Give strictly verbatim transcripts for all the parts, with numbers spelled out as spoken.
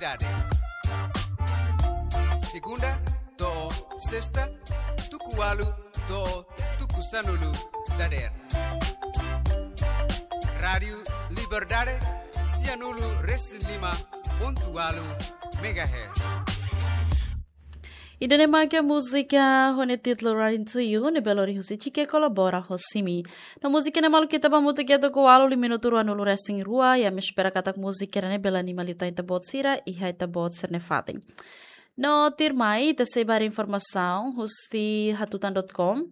Dade. Segunda to'o sesta, tuku ualu to'o tuku sanulu dadeer. Rádiu Liberdade, sianulu resin lima pontu ualu megahertz. Ida-ne'e mak múzika ho nia títulu Running to You, ne'ebé lori husi Chike kolabora ho Simi. No múzika ne'e maluk ita ba hamutuk iha tuku ualu, liu minutu ruanulu resin rua, i ami espera katak múzika ne'e bele anima liután ita-boot sira iha ita-boot sira-nia fatin. No tuirmai, ita sei ba haree informasaun husi hatutan dot com.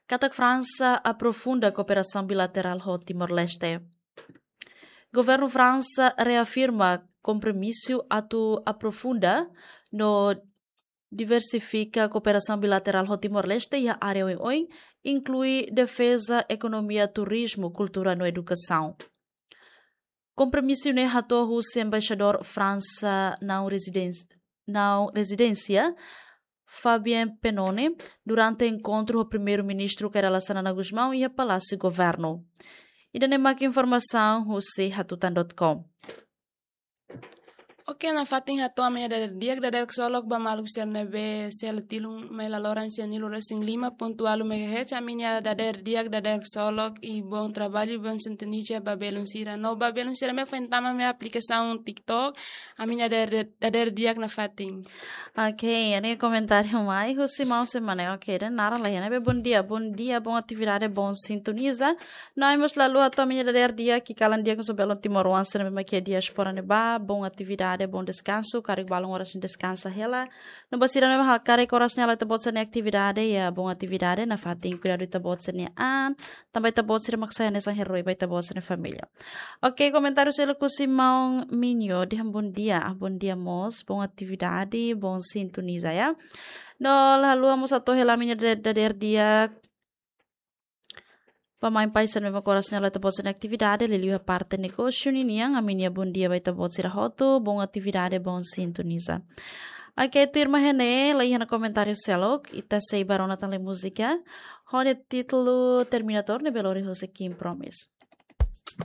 Katak Fransa aprofunda kooperasaun bilaterál ho Timor-Leste. Governu Fransa reafirma kompromisu atu aprofunda no diversifika kooperasaun bilaterál ho Timor-Leste iha área oioin, inklui defeza, ekonomia, turizmu, kultura no edukasaun. Kompromisu ne'e hato'o husi embaixadór Fransa naun rezidens-, naun rezidénsia, Fabien Pennone, durante enkontru ho Primeiru-Ministru Kay Rala Xanana Gusmão iha Palásiu Governu. Ida-ne'e mak informasaun husi hatutan dot com. Oke, nafatin hato'o ami-nia dadeer di'ak, dadeer ksolok ba maluk sira ne'ebé sela tilun mai laloran sianulu resin lima pontu ualu megahertz, ami-nia dadeer di'ak, dadeer ksolok, i bom traballu, bom sintonia ba belun sira. No ba belun sira ne'ebé foin tama mai aplikasaun TikTok, ami-nia dadeer, dadeer di'ak nafatin. Oke, iha ne'e komentáriu mai husi maun sira-ne'e. Oke, ida-ne'e naran la iha, ne'ebé bom dia, bom dia, bom atividade, bom sintoniza. No ami mós la haluha hato'o ami-nia dadeer di'ak, kalan di'ak husi belun timoroan sira ne'ebé mak iha diáspora ne'ebá, bom atividade, bom deskansu, karik balun oras nia deskansa hela. No ba sira ne'ebé hakarak oras ne'e halo ita-boot sira-nia atividade, iha bom atividade, nafatin kuidadu ita-boot sira-nia an, tanba ita-boot sira mak sai hanesan herói ba ita-boot sira-nia família. Oke, komentáriu seluk husi maun Minho, dehan bom dia, ah, bom dia mós, bom atividade, bom sintoniza, ya. No la haluha mós hato'o hela ami-nia dade-, dadeer di'ak ba maun-pain sira ne'ebé mak oras ne'e halo ita-boot sira-nia atividade, liuliu iha parte negósiu ninian, ami-nia bom dia ba ita-boot sira hotu, bom atividade, bom sintoniza. Oke, tuirmai iha ne'e, la iha ona komentáriu seluk, ita sei ba rona tan lai múzika ho nia títulu Terminator ne'ebé lori husi King Promise.